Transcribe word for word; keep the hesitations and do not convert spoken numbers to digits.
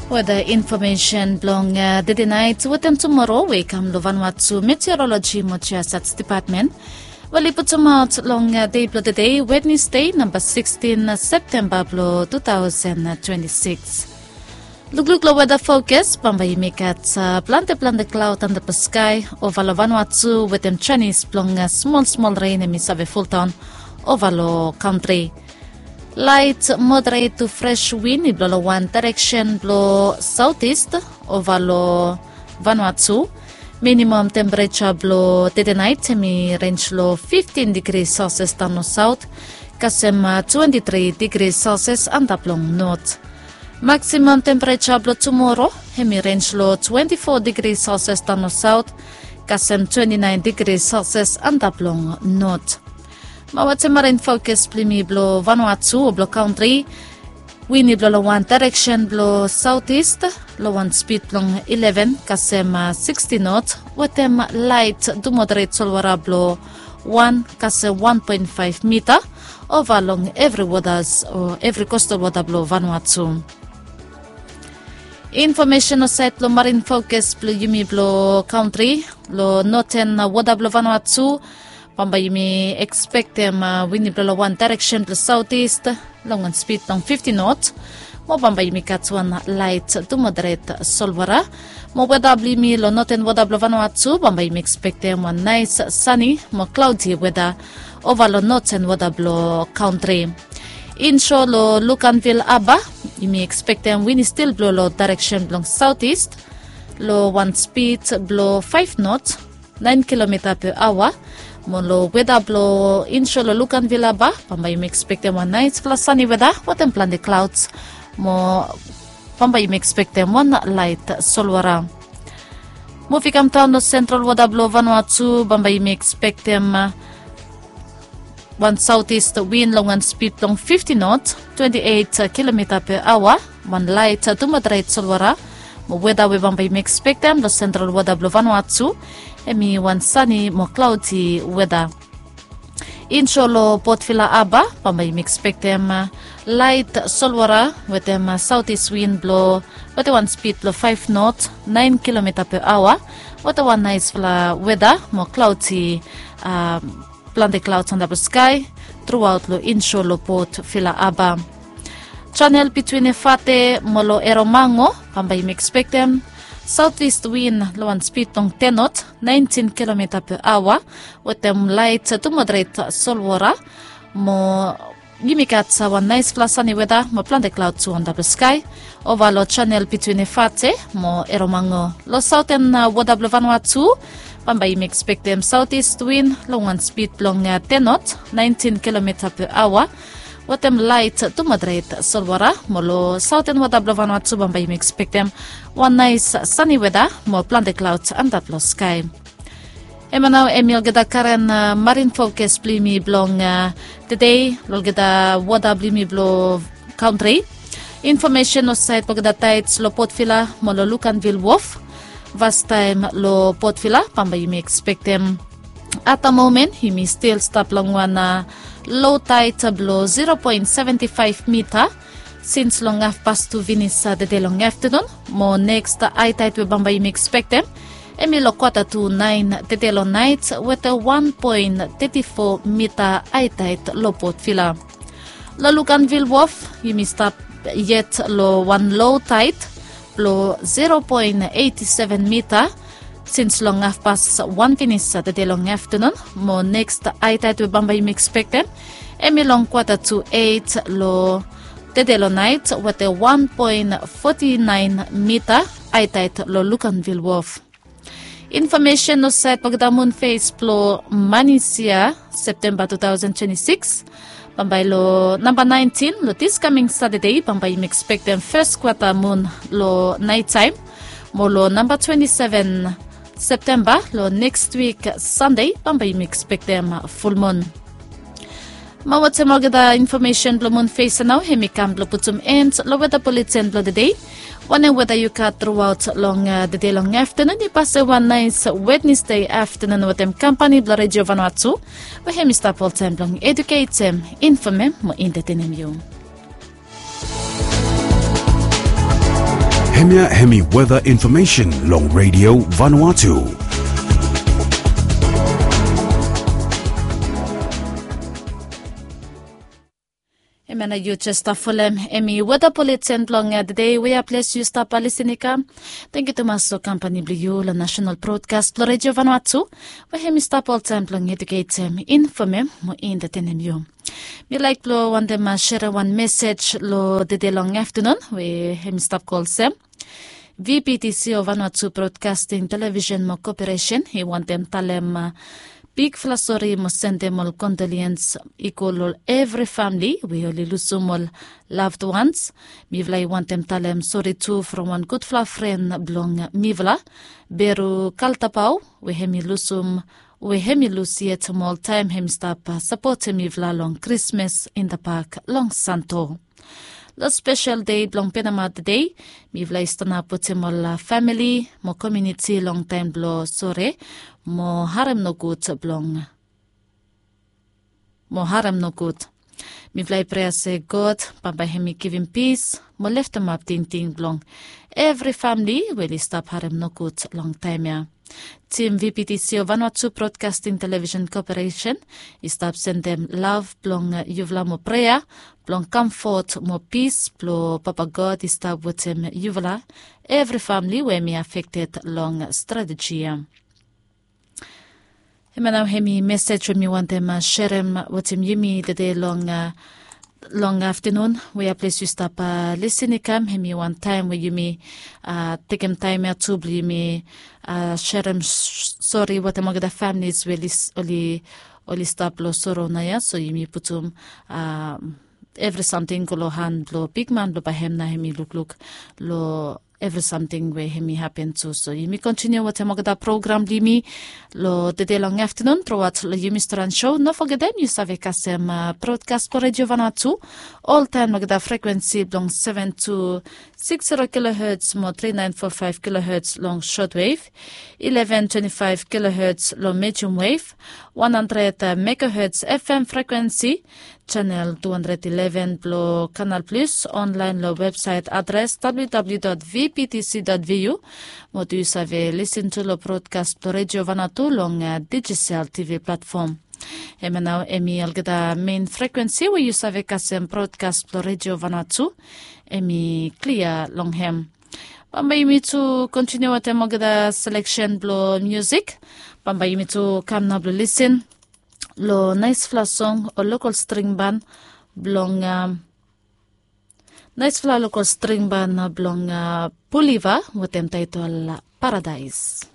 Weda infomesen blong tede nait wetem tumoro we i kam long Vanuatu Meteoroloji mo Geosats Depatmen we oli putumaot long dei blong tede, Wednesde, namba sikstin Septemba blong tu taosen twenti sikis. Lukluk long weda fokas, bambae yumi gat plante plante klaod antap long skae ova long Vanuatu wetem janis blong smol smol ren hemi save foldaon ova long kantri. Laet moderet tu fres win i blo long wan daereksen blo saotis ova long Vanuatu. Minimam tempereja blo tede nait hemi renj long fiftin digri Celsius daon long saot, kasem twenti tri digri Celsius antap long not. Maksimam tempereja blo tumoro hemi renj long twenti fo digri Celsius daon long saot, kasem twenti naen digri Celsius antap long not. Mo wetem marin fokas blo yumi blo Vanuatu o blo kantri, win i blo long wan daereksen blo saotis long wan spid blong ileven kasem sikstin not, wetem laet tu moderet solwara blo wan kasem wan poen faef mita ova long evri wotas o evri kostal wota blo Vanuatu. Infomesen long saed blo marin fokas blo yumi blo kantri, long noten wota blo Vanuatu, bambae yumi ekspektem win i blo long wan daereksen blo saotis long wan spid long fifti not. Mo bambae yumi gat wan laet tu moderet solwara. Mo weta blo yumi long noten wota blo Vanuatu, bambae yumi ekspektem wan naes sani mo klaodi weta ova long noten wota blo kantri. Inso long Luganville Haba, yumi ekspektem win i stil blo long daereksen blong saotis long wan spid blo faef not, naen kilomita pe aoa. Mo long weta blo inso long Luganville Haba, bambae yumi ekspektem wan naesfala sani weta wetem plante klaods. Mo bambae yumi ekspektem wan laet solwara. Muv i kamdaon long sentral wota blo Vanuatu, bambae yumi ekspektem wan saotis win long wan spid blong fifti not, twenti eit kilomita pe aoa, wan laet tu moderet solwara. Mo weta we bambae yumi ekspektem long sentral wota blo Vanuatu hemi wan sani mo klaodi weta. Inso long Port Vila Haba, bambae yumi ekspektem laet solwara wetem saotis win blo wetem wan spid blo faef not, naen kilomita pe aoa, wetem wan naesfala weta mo klaodi, plante klaods antap long skae truaot long inso long Port Vila Haba. Janel bitwin Efate mo long Eromango, bambae yumi ekspektem saotis win long wan spid blong ten not, naentin kilomita pe aoa, wetem laet tu moderet solwara. Mo yumi gat wan naesfala sani weta mo plante klaod tu antap long skae ova long janel bitwin Efate mo Eromango. Long saoten wota blo Vanuatu, bambae yumi ekspektem saotis win long wan spid blong ten not, naentin kilomita pe aoa, wetem laet tu moderet solwara. Mo long saoten wota blo Vanuatu, bambae yumi ekspektem wan naes sani weta mo plante klaod antap long skae. Hemia nao hemi olgeta karen marin fokas blo yumi blong tede long olgeta wota blo yumi blo kantri. Infomesen long saed blo olgeta taeds long Port Vila mo long Luganville Wof. Fastaem long Port Vila, bambae yumi ekspektem at da momen yumi stil stap long wan lo taed blo zero poen seventi faef mita sins long hafpas tu finis tede long aftanun. Mo neks haetaed we bambae yumi ekspektem hemi long kwata tu naen tede long naet wetem wan poen teti fo mita haetaed long Port Vila. Long Luganville Wof yumi stap yet long wan lo taed blo zero poen eiti seven mita sins long hafpas wan finis tede long aftanun. Mo neks haetaed we bambae yumi ekspektem hemi long kwata tu eit long tede long naet wetem wan poen foti naen mita haetaed long Luganville Wof. Infomesen long saed blo olgeta mun fes blo manis yia, Septemba tu taosen twenti sikis. Bambae long namba naentin long dis kaming Satade, bambae yumi ekspektem fes kwata mun long naetaem. Mo long namba twenti seven Septemba long neks wik Sande, bambae yumi ekspektem fulmun. Mo wetem olgeta infomesen blo mun fes ya nao hemi kam blo putum en long weta buletin blo tede. Wanem weta yu gat truaot long tede long aftanun, yu pasem wan naes Wednesde aftanun wetem kampani blo Redio Vanuatu, we hemi stap oltaem blong eduketem, infomem mo entetenem yu. Hemia hemi weta infomesen long Radio Vanuatu. Hemia nao yu jes stap folem hemi weta buleten blong tede weaples yu stap lisin i kam. Tangkiu tumas long kampani blong yu long nasenal brodkas blong Radio Vanuatu, we hemi stap oltaem blong eduketem, infomem mo entatenem yu. Mi laek blong wantem serem wan mesej long tede long aftanun we hemi stap go olsem: VPTC o Vanuatu Broadcasting Television mo Cooperation i wantem talem bigfala sori mo sendem ol condolence i go long evri famili we oli lusum ol loved ones. Mifala i wantem talem sori tu from wan gudfala fren blong mifala, Beru Kaltapao, we hemi lusum we hemi lus yet mo oltaem hemi stap sapotem mifala long Krismas in the Park long Santo. Long spesel dei blong Penama tede, mifala i stanap wetem ol famili mo komuniti long taem blong sore mo harem nogud blong mo harem nogud. Mifala i prea se God bambae hemi givim pis mo leftemap tingting blong evri famili we oli stap harem nogud long taem ya. Tim VPTC o Vanuatu Broadcasting Television Corporation i stap sendem lav blong yufala mo prea blong kamfot mo pis blong Papa God i stap wetem yufala evri famili we hemi afekted long strateji ya. Hemia nao hemi mesej we mi wantem serem wetem yumi tede long long aftanun weaples yu stap lisin i kam. Hemi wan taem we yumi tekem taem ya tu blong yumi serem sori wetem olgeta familis we oli oli stap long soro naoia. So yumi putum evri samting go long han blong bigman blong bae hem nao hemi lukluk long evri samting we hemi hapen tu. So yumi kontiniu wetem olgeta program blong yumi long tede long aftanun truaot long yumi stran so. No fogetem yu save kasem brodkas blong Radio Vanuatu oltaem long olgeta frekuensi blong seven two six zero kilohertz mo three nine four five kilohertz long shortwave, eleven twenty-five kilohertz long medium wave, one hundred megahertz FM frekuensi, channel two hundred eleven blong Canal Plus, online long website adres www.vptc.vu. Mo tu yu save lisin tu long brodkas blong Radio Vanuatu long Digicel TV platform. Hemia nao hemi olgeta mein frekuensi we yu save kasem brodkas blong Radio Vanuatu hemi klia long hem. Bambae yumi tu kontiniu wetem olgeta seleksen blong musik. Bambae yumi tu kam nao blong lisin long naesfala song o lokol string ban blong naesfala lokol string ban blong Puliva wetem taetol Paradaes.